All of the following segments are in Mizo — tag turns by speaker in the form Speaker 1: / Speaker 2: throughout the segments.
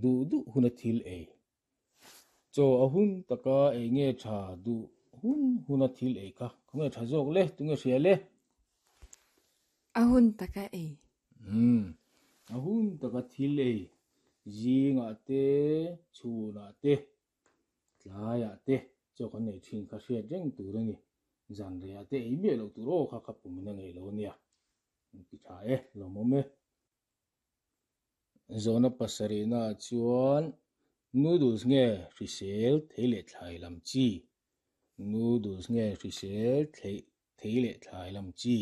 Speaker 1: Duh duh huna thil ei. Chaw a hun taka ei nge tha duh hun huna thil ei kha khawnge tha zawk le tunge hria le?
Speaker 2: A hun taka ei.
Speaker 1: Umm a hun taka thil ei zingah te chhunah te tlaiah te chaw kan ei thin kha hriat reng tur a ni. Zanreiah te ei miah loh tur aw kha ka pum in a ngeih lo a nia. Ti tha e lawmawm e. Zawhna pasarihna ah chuan noodles nge hrisel thei leh thlai lam chi? Noodles nge hrisel theih thei leh thlai lam chi?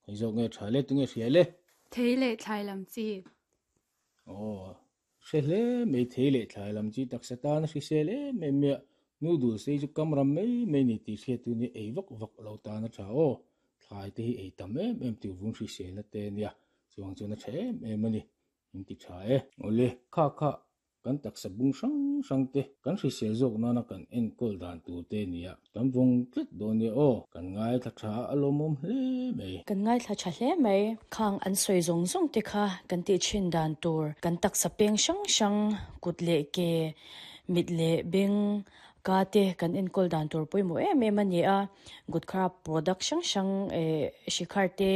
Speaker 1: Hei zawk nge tha le tunge hria le?
Speaker 2: Thei leh thlai lam chi.
Speaker 1: Aw, hre hle mai thei leh thlai lam chi taksa tan a hrisel em em mai a, noodles hi chu kam ram mai mai ni tih hriat tu nia ei vak vak lo tan a tha aw, thlai te hi ei tam em em tur vung hriselna te nia Chuang chuan a tha em em a ni, min ti tha e. Awle, kha kha kan taksa bung hrang hrang te kan hrisel zawk nana kan enkawl dan tur te nia, kan vawng tlat dawn nia aw, kan ngaithla tha a lawmawm hle mai.
Speaker 3: Kan ngaithla tha hle mai, khang an sawi zawng zawng te kha kan tih thin dan tur, kan taksa peng hrang hrang, kut leh ke, mit leh beng, ka te kan enkawl dan tur pawimawh em em a ni a, gutkha product hrang hrang eh shikhar te,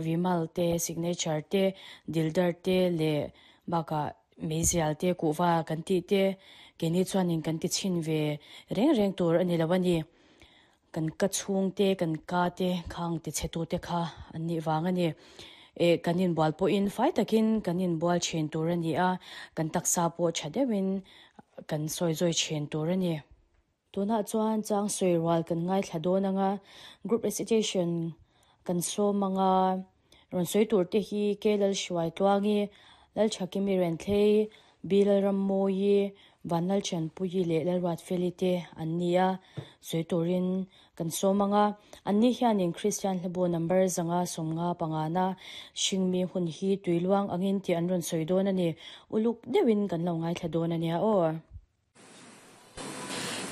Speaker 3: Vimal te, Signature te, Dildar te leh bakah Meizial te, Kuhva kan tih te keini chuanin kan ti chhin ve reng reng tur a ni lo a ni. Kan ka chhung te, kan ka te khang ti chhe tu te kha an nih vang a ni. Eh kan inbual pawhin fai takin kan inbual thin tur a ni a, kan taksa pawh tha deuhin kan sawi zawi thin tur a ni. Tunah chuan chang sawi rual kan ngaithla dawn ang a, group recitation kan sawm ang a, rawn sawi tur te hi K Lalhruai Tluangi, Lalthakimi Renthlei, B Lalrammawi, Vanlalthianpuii leh Lalruatfeli te an ni a, sawi turin kan sawm ang a. Anni hianin Kristian hlabu number 155 na hringmi hun hi tuiluang angin tih an rawn sawi dawn a ni. Uluk deuhin kan lo ngaithla dawn a nia aw.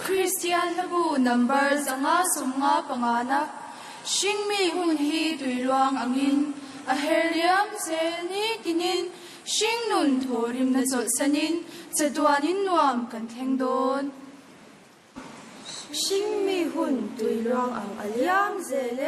Speaker 4: Kristian hlabu number 155 na hringmi hun hi tuiluang angin a her liam zel nitinin hringnun thawhrimna chawlhsanin chatuanin nuam kan thleng dawn.
Speaker 5: Hringmi hun tuiluang ang a liam zel e.